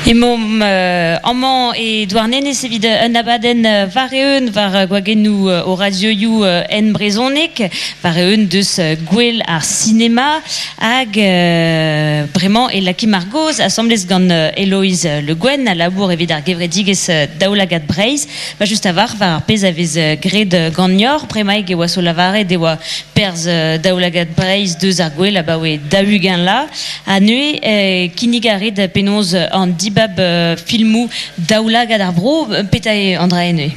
Emaomp amañ e Douarnenez evit un abadenn war-eeun war gwagennoù o radioioù en brezhoneg, war-eeun deus Gouel ar sinema hag bremañ e lakimp ar gaoz asambles gant Eloise Le Guen a labour evit ar gevredigezh Daoulagad Breizh. Ba just a-walc'h war ar pezh a vez graet ganeoc'h, bremaik e oa so lavaret e oa perzh Daoulagad Breizh deus ar gouel abaoe 40 la. Ha neuze kinnig a rit penaos an dibab filmoù Daoulagad ar Vro, petra eo an dra neuze?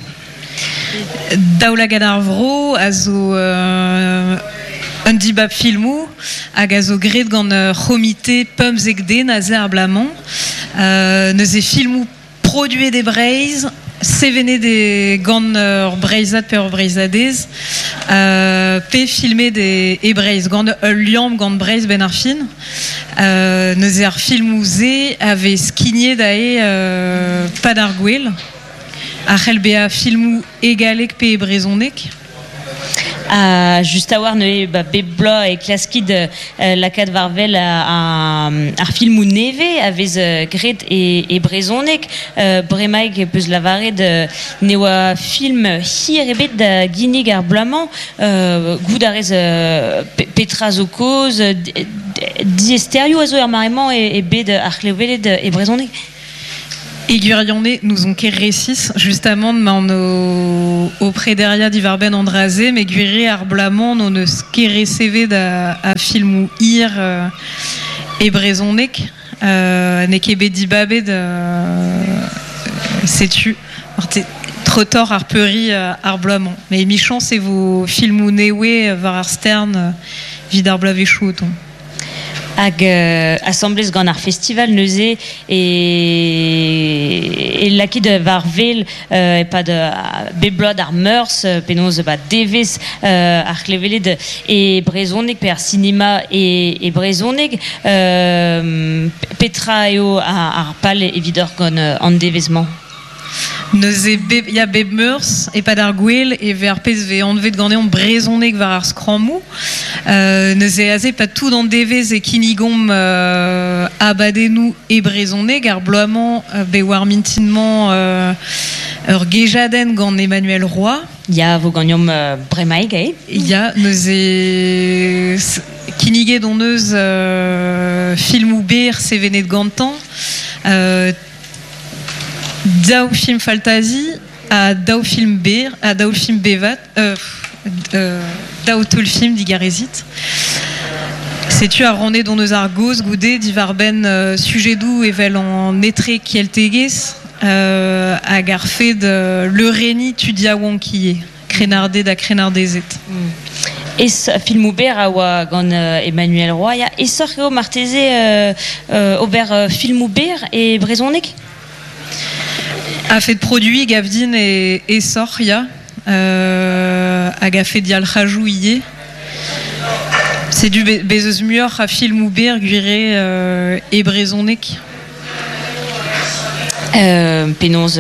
Daoulagad ar Vro a zo un dibab filmoù hag a zo graet gant ur c'homite 15 den aze ar bloaz-mañ. Neuze filmoù Produet e Breizh, sevenet e gant ur Breizhad pe ur Breizhadez, pe filmet e Breizh, gant ul liamm gant Breizh 'benn ar fin. Neuze ar filmoù-se a vez skignet aze 'pad ar gouel, a c'hell bezañ filmoù e galleg pe e brezhoneg. Ha just a-walc'h neuze ba bep bloaz e klaskit lakaat war-wel ar filmoù nevez a vez graet e brezhoneg. Bremaik e peus lavaret ne oa film hir ebet da ginnig ar bloaz-mañ. Goût a rez petra zo kaoz? Diaesterioù a zo er mare-mañ e bed ar c'hleweled e brezhoneg? E gwirionez n'ouzon ket resis justamant 'maon o prederiañ diwar-benn an dra-se met gwir eo ar bloaz-mañ n'hon eus ket resevet a filmoù hir e brezhoneg. N'eo ket bet dibabet setu treutoc'h ar peuriñ ar bloaz-mañ. Met emichañs e vo filmoù nevez war ar stern evit ar bloavezhioù o tont. Hag asambles gant ar festival neuze e, e lakit war wel e-pad bep bloaz d'ar Meurzh penaos ba devezh ar c'hleveled e brezhoneg pe ar sinema e, e brezhoneg. Petra eo ar pal evidoc'h gant an devezh-mañ? Neuze bep, ya, bep meurzh, e-pad ar gouel, e vez ar pezh vez anvet ganeomp brezhoneg war ar skrammoù. Neuze aze, 'pad tout an devezh e kinnigomp abadennoù e brezhoneg. Ar bloaz-mañ, bet war mintin-mañ ur gejadenn gant Emmanuel Roy. Ya, vo ganeomp bremaik, eh? Ya, neuze kinniget hon eus filmoù berr sevenet gantañ. Daou film faltazi ha daou film berr ha daou film bevat daou teulfilm digarezit. Setu ar rannet hon eus ar gaoz goude diwar-benn sujedoù evel an etrekeltegezh hag ar fed leurenniñ tud yaouank ivez, krennarded ha krennardezed. Es filmoù berr a oa gant Emmanuel Roy. Ya, aesoc'h eo marteze ober filmoù berr e brezhoneg? A-fet produiñ gav din eo aesoc'h, ya. Hag a-fet yalc'hajoù ivez. Setu bez eus muioc'h a filmoù berr gwir eo e brezhoneg. Penaos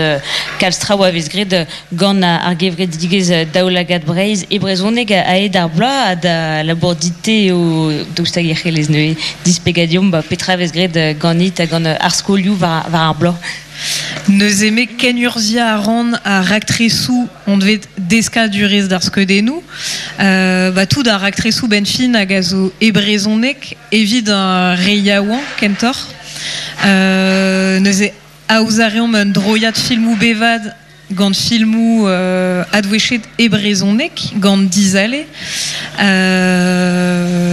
kalz traoù a vez graet gant ar gevredigezh Daoulagad Breizh e brezhoneg a-hed ar bloaz ha da labour dit-te eo daoust hag e c'hellez neuze displegañ deomp petra a vez graet ganit ha gant ar skolioù war ar bloaz. Neuze me kenurzhiañ a ran ar raktresoù anvet deskadurezh d'ar skeudennoù. Ba tout ar raktresoù 'benn fin hag a zo e brezhoneg evit ar re yaouank kentoc'h. Neuze aozañ a reomp un droiad filmoù bevat gant filmoù adwechet e brezhoneg gant Dizale.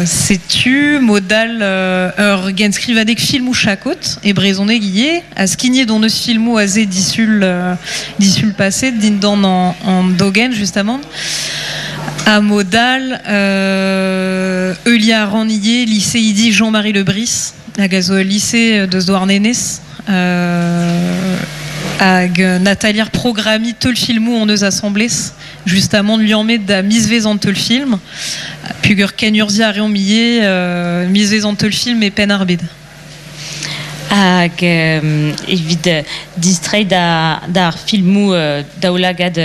Setu mod all ur genskrivadeg filmoù chakod e brezhoneg ivez ha skignet hon eus filmoù aze disul disul paset dindan an dogenn justamant. Ha mod all heuliañ a ran ivez liseidi Jean-Marie Le Bris hag a zo ul lise deus Douarnenez hag un atalier programmiñ teulfilmoù hon eus asambles justamant liammet da mizvezh an teulfilm peogwir kenurzhiañ a reomp ivez mizvezh an teulfilm e Penn-ar-Bed. Hag evit distreiñ d'ar filmoù daoulagad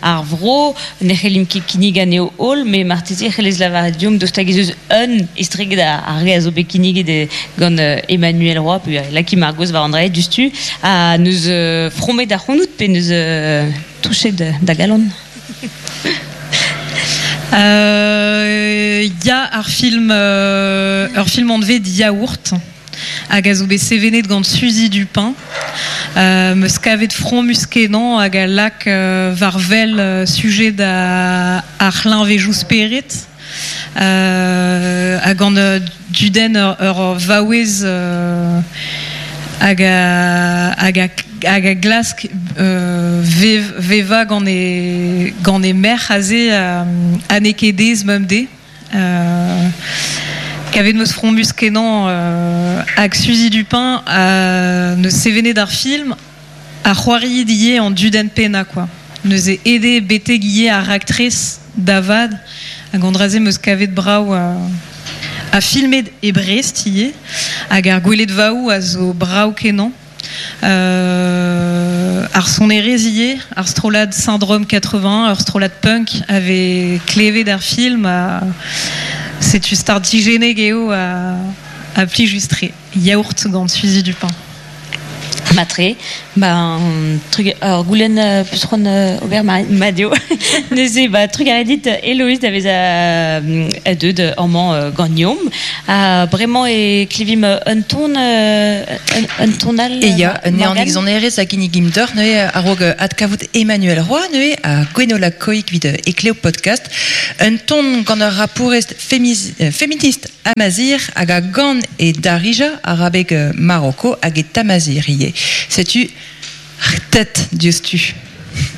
ar vro, ne c'hellimp ket kinnig anezho holl, met marteze e c'hellez lavaret deomp daoust hag ez eus un estreget ar re a zo bet kinniget gant Emmanuel Roy, pe lakimp ar gaoz war an dra diouzhtu, ha n'eus fromet ac'hanout pe n'eus touchet da galon? Ya, ar film, ur film anvet Yaourt hag a zo bet sevenet gant Suzy Dupin. Meus kavet fromus-kenañ hag a lak war wel sujet ar c'hleñvejoù spered ha gant dudenn ur vaouez hag a, hag a, hag a glask vevañ gant e, gant e merc'h aze ha n'eo ket aes bemdez. Kavet 'm eus fromus-kenañ hag Suzy Dupin neus sevenet ar film ha c'hoariet ivez an dudenn pennañ kwa. Neuze aet eo betek ivez ar raktres da vat hag an dra-se 'm eus kavet brav ha filmet e Brest ivez hag ar gweledvaoù a zo brav-kenañ. Ar sonerezh ivez, ar strollad Syndrome 80, ur strollad punk a vez klevet er film. Setu startijennek eo ha plijus-tre. Yaourt gant Suzy Dupin. Matre, ben, trug, ur goulenn peus c'hoant ober mat eo. Neuze, ba, trugarez dit Héloïse da vezañ deuet amañ ganeomp. Ha bremañ e klevimp un ton, un ton all. E ya, un Morgane sonerezh a ginnigimp deoc'h neuze a-raok adkavout Emmanuel Roy neuze ha Gwenola Koig evit Ekleo Podcast. Un ton gant ur rapourez feminist amazir hag a gan e Darija, arabeg Maroko hag e Tamazir ivez. Setu tet diouzhtu.